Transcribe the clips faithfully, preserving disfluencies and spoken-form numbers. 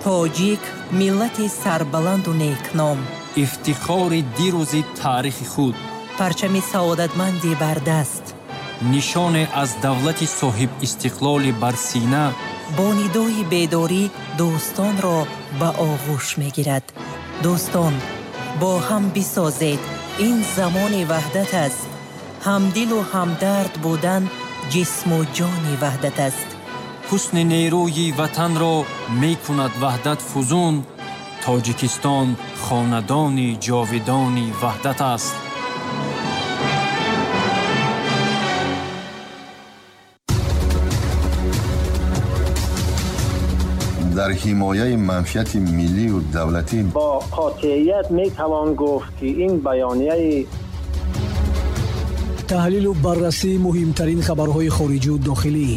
Тоҷик миллати сарбаланду некном, ифтихори дирӯзи таърихи худ, парчами саодатманди бардаст, нишоне аз давлати соҳибистиқлоли бар сина, бо нидои бедорӣ дӯстонро ба оғӯш мегирад. Дӯстон, бо ҳам бисозед, ин замони ваҳдат аст. Ҳамдилу ҳамдард будан ҷисму ҷони ваҳдат аст. Ҳусни нерӯи ватанро мекунад ваҳдат фузун. Тоҷикистон хонадони ҷовидони ваҳдат аст. Дар ҳимояи манфиати миллию давлатӣ бо қотеият метавон гуфт, ки ин баёнияи таҳлилу баррасии муҳимтарин хабарҳои хориҷию дохилӣ,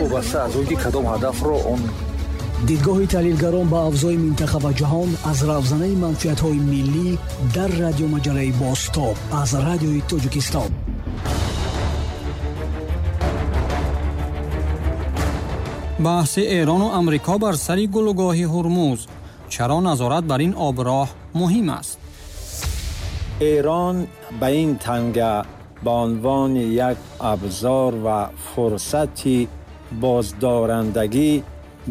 вобаста аз он ки кадом ҳадафро он дидгоҳи таҳлилгарон ба авзои минтақа ва ҷаҳон аз равзанаи манфиатҳои миллӣ дар радиомаҷалаи Бозтоб аз Радиои Тоҷикистон. Баҳси Эрону Амрико бар сари гулугоҳи Ҳурмуз. Чаро назорат бар ин оброҳ муҳим аст? Эрон ба ин танга ба унвони як абзор ва фурсати боздорандагӣ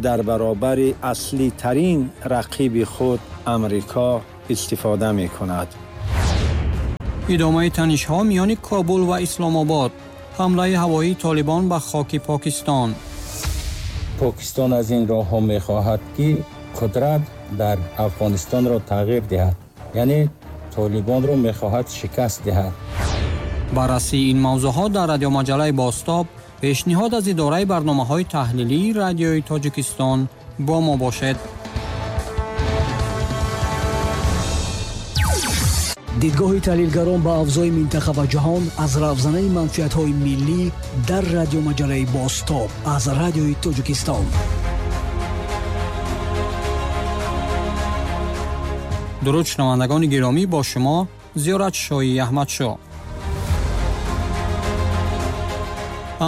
дар баробари аслитарин рақиби худ Амрико истифода мекунад. Идомаи танишҳо миёни Кобул ва Исломобод. Ҳамлаи ҳавоии Толибон ба хоки Покистон. Покистон аз ин роҳҳо мехоҳад, ки қудрат дар Афғонистонро тағйир диҳад, яъне Толибонро мехоҳад шикаст диҳад. Баррасии ин мавзӯъҳо дар радиомаҷалаи Бозтоб, пешниҳод аз идораи барномаҳои таҳлилии Радиои Тоҷикистон. Бо мо бошед. Дидгоҳи таҳлилгарон ба авзои минтақа ва ҷаҳон аз равзанаи манфиатҳои миллӣ дар радиомаҷалаи Бозтоб аз Радиои Тоҷикистон. Дуруд шунавандагони гиромӣ, бо шумо Зиёрат Шоҳи Аҳмадшоҳ.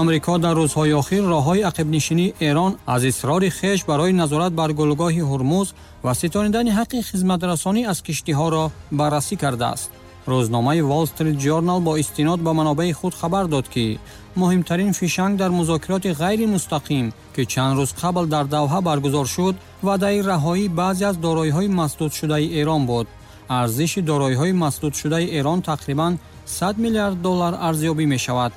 Амрико дар рӯзҳои охир роҳҳои ақибнишинии Эрон аз исрори хеш барои назорат бар гулугоҳи Ҳурмуз ва ситонидани ҳаққи хизматрасонӣ аз киштиҳоро баррасӣ кардааст. Рӯзномаи Wall Street Journal бо истинод ба манобеи худ хабар дод, ки муҳимтарин фишанг дар музокироти ғайримустақим, ки чанд рӯз қабл дар Давҳа баргузор шуд, ваъдаи раҳоии баъзе аз дороиҳои масдудшудаи Эрон буд. Арзиши дороиҳои масдудшудаи Эрон тақрибан сад миллиард доллар арзёбӣ мешавад.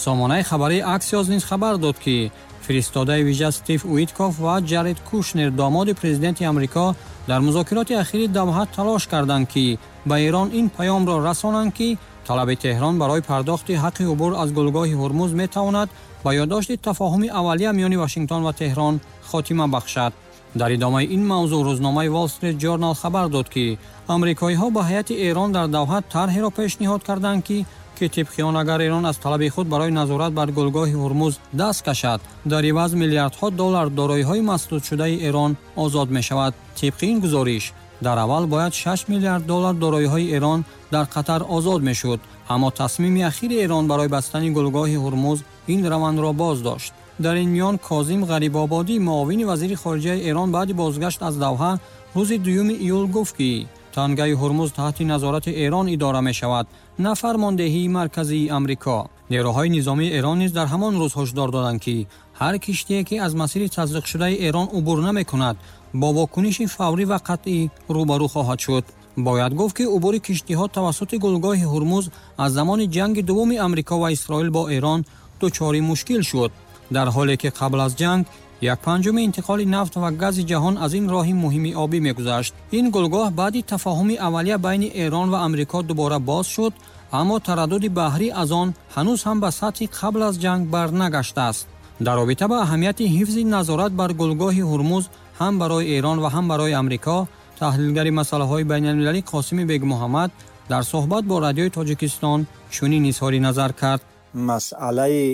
Сомонаи хабарии Аксиос низ хабар дод, ки фиристодаи вижа Стив Уиткоф ва Ҷаред Кушнер, домоди президенти Амрико, дар музокироти ахири Давҳа талош карданд, ки ба Эрон ин паёмро расонанд, ки талаби Теҳрон барои пардохти ҳаққи убур аз гулгоҳи Ҳурмуз метавонад ба ёддошти тафоҳуми аввалия миёни Вашингтон ва Теҳрон хотима бахшад. Дар идомаи ин мавзӯъ рӯзномаи Wall Street Journal хабар дод, ки амрикоиҳо ба ҳайати Эрон дар Давҳа тарҳеро пешниҳод карданд, ки ки тибқи он агар Эрон аз талаби худ барои назорат бар гулгоҳи Ҳурмуз даст кашад, дар иваз миллиардҳо доллар дороиҳои масдудшудаи Эрон озод мешавад. Тибқи ин гузориш, дар аввал бояд шаш миллиард доллар дороиҳои Эрон дар Қатар озод мешуд, аммо тасмими ахири Эрон барои бастани гулгоҳи Ҳурмуз ин равандро боз дошт. Дар ин миён Козим Ғарибободӣ, муовини вазири хориҷаи Эрон, баъди бозгашт аз Давҳа рӯзи дуюми июл гуфт, ки тангаи Ҳурмуз таҳти назорати Эрон идора мешавад, на фармондеҳии марказии Амрико. Нерӯҳои низомии Эрон низ дар ҳамон рӯз ҳушдор доданд, ки ҳар киштие, ки аз масири тазриқшудаи Эрон убур намекунад, бо вокуниши фаврӣ ва қатъӣ рӯбарӯ хоҳад шуд. Бояд гуфт, ки убури киштиҳо тавассути гулгоҳи Ҳурмуз аз замони ҷанги дуввуми Амрико ва Исроил бо Эрон дучори мушкил шуд, дар ҳоле ки қабл аз ҷанг як панҷуми интиқоли нафт ва гази ҷаҳон аз ин роҳи муҳими обӣ мегузашт. Ин гулгоҳ баъди тафоҳуми аввалия байни Эрон ва Амрико дубора боз шуд, аммо тараддуди баҳрӣ аз он ҳанӯз ҳам ба сатҳи қабл аз ҷанг барнагаштааст. Дар робита ба аҳамияти ҳифзи назорат бар гулгоҳи Ҳурмуз ҳам барои Эрон ва ҳам барои Амрико, таҳлилгари масъалаҳои байналмилалӣ Қосими Бегмуҳаммад дар суҳбат бо Радиои Тоҷикистон чунин изҳори назар кард. Масъалаи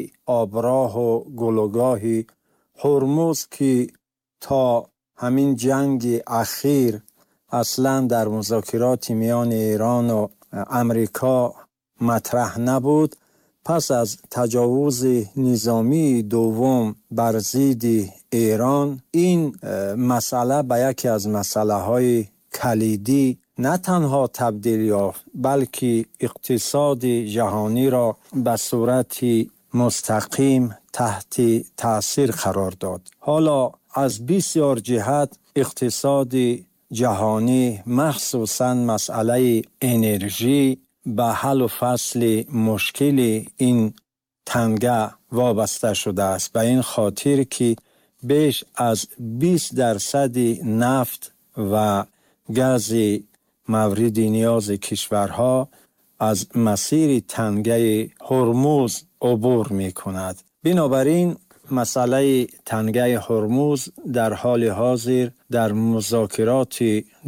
оброҳу гулугоҳи Ҳурмуз, ки то ҳамин ҷанги ахир аслан дар музокироти миёни Эрону Амрико матраҳ набуд, پس از تجاوز نظامی دوم بر ضد ایران، این مسئله به یکی از مسئله های کلیدی نه تنها تبدیل یافت، بلکه اقتصاد جهانی را به صورت مستقیم تحت تاثیر قرار داد. حالا از بسیار جهت اقتصاد جهانی، مخصوصا مسئله انرژی، به حل و فصل مشکل این تنگه وابسته شده است، به این خاطر که بیش از بیست درصد نفت و گاز مورد نیاز کشورها از مسیر تنگه هرمز عبور می کند. بنابراین مسئله تنگه هرمز در حال حاضر در مذاکرات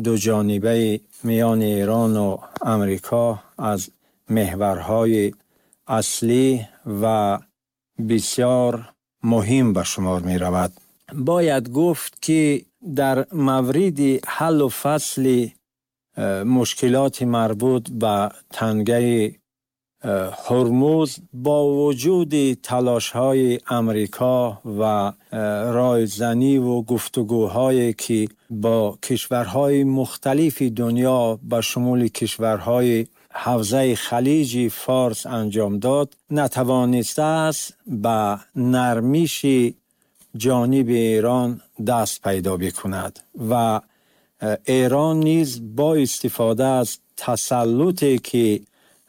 دو جانبه میان ایران و امریکا از محورهای اصلی و بسیار مهم به شمار می رود. باید گفت که در مورد حل و فصل مشکلات مربوط به تنگه هرمز، با وجود تلاش‌های امریکا و رایزنی و گفتگوهایی که با کشورهای مختلف دنیا به شمول کشورهای حوزه خلیج فارس انجام داد، نتوانسته است به نرمش جانب ایران دست پیدا بکند و ایران نیز با استفاده از تسلطی که